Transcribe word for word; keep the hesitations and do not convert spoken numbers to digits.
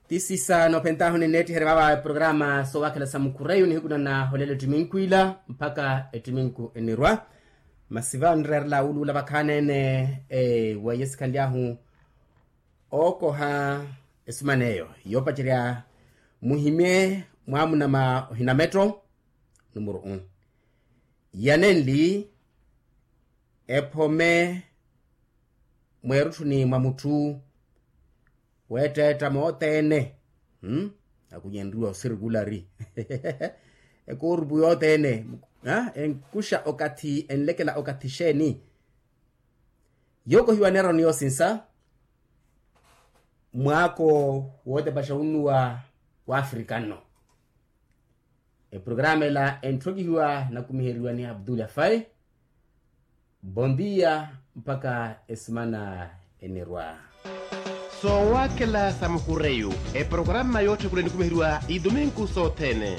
Ti sisa noophentaahu ninneettiherya vaava eprograma soowakhela sa mukhureyu nihiku na naholela ettiminku ila mpakha ettiminku enirwa. Masi va nreerela wuluula vakhaanene weiye sikhanly'ahu ookoha esuman'eyo yoopacerya muhimye mwaamuna ma ohinametto. Numuru u yanenli ephome mweerutthuni mwa mutthu weetteetta moothene. Akunyenriwa osirikulari ekoorupu yoothene enkuxa okathi enlekela okathi xeeni? Yookohiwa neeroni yoosinsa mwaako wootepaxa wunnuwa w'afrika nno. Eprograma ela entthokihiwa nakumiheriwa ni abdul afai. Bondia mpakha esimana enirwa. Soowakhela sa mukureyu eprograma yootthekula enikumiheriwa ituminku sothene.